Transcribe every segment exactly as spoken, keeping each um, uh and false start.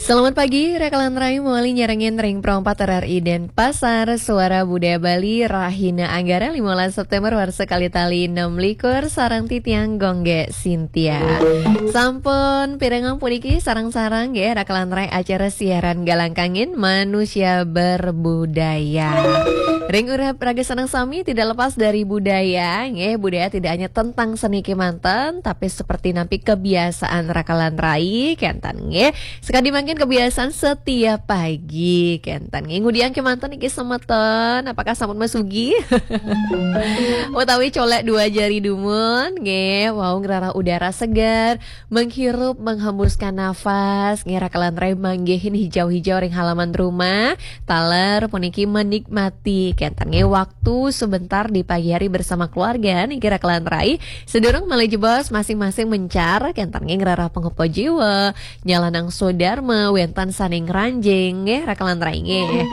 Selamat pagi, rakalan rai, mawali nyarengin ring Pro empat R R I Denpasar, Suara Budaya Bali, Rahina Anggara, lima belas September, warsa kalih tali enam likur, sareng titiang Gung Gé Sintia. Sampun pirengang puniki sareng-sareng nggih, rakalan rai, acara siaran Galang Kangin Manusia Berbudaya. Ring urip raga sareng sami tidak lepas dari budaya, nggih, budaya tidak hanya tentang seni kemanten, tapi seperti nampi kebiasaan rakalan rai, kenten nggih. Sekadi mangkin kebiasaan setiap pagi, kenten nggih. Ngudiang kemanten niki semeton, apakah sampun masugi? Utawi colek dua jari dumun, nggih, wau ngrarah udara segar, menghirup, menghembuskan nafas, nggih, rakalan rai, manggihin hijau-hijau ring halaman rumah, taler puniki menikmati, kenten nggih, waktu sebentar di pagi hari bersama keluarga, niki rakalan rai, sedurung malih jebos masing-masing mencar, kenten nggih, ngrarah pangupah jiwa, nyalanang swadarma, wenten sane ngranjing, nggih, rakalan rai, nggih.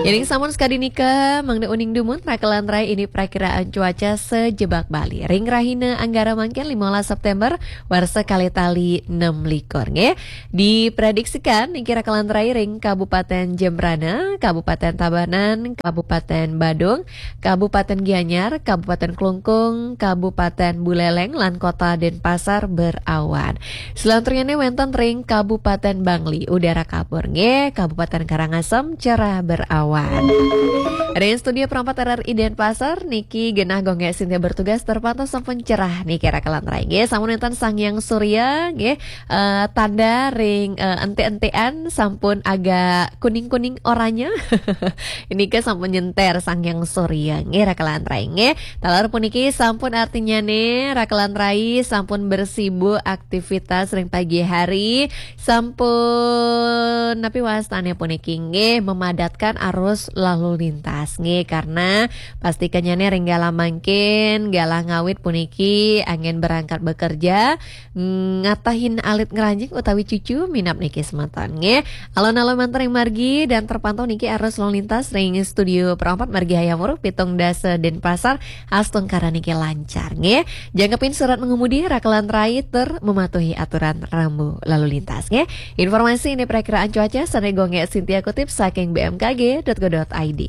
Yen sampun sakadi nika, mangda uning dumun, rakalan rai, ini prakiraan cuaca sajebag Bali ring rahina Anggara mangkin, lima belas September, warsa kalih tali enam likur, nggih. Diprediksikan niki, rakalan rai, ring Kabupaten Jembrana, Kabupaten Tabanan, Kabupaten Badung, Kabupaten Gianyar, Kabupaten Klungkung, Kabupaten Buleleng, lan Kota Denpasar berawan. Selanturnya wenten ring Kabupaten Bangli, udara kabur nggih, Kabupaten Karangasem cerah berawan. Ring studio Pro empat R R I Denpasar niki genah Gung Gé Sintia bertugas, terpantau sampun cerah niki, rakalan rai, nggih. Sampun wenten Sang Hyang Surya nggih, eh, tanda ring, eh, ente-entean sampun agak kuning-kuning oranye. Niki sampun nyenter Sang Hyang Surya nggih, rakalan rai, nggih. Taler puniki sampun artinyane rakalan rai sampun bersibuk aktivitas ring pagi hari, sampun napi wastane puniki nggih, memadatkan arus lalu lintas nggih, karena pastikanyane ring galah mangkin, galah ngawit puniki anggen berangkat bekerja, ngatahin alit ngranjing utawi cucu minab niki semeton nggih. Alon-alon manten ring margi dan terpantau niki arus lalu lintas ring studio Pro empat margi Hayam Wuruk pitung dasa Denpasar, astungkara niki lancar nggih. Jangkepin surat mengemudi, rakalan rai, tur mematuhi aturan rambu lalu lintas nggih. Informasi ini prakiraan cuaca sane Gung Gé Sintia kutip saking B M K G dot go dot I D.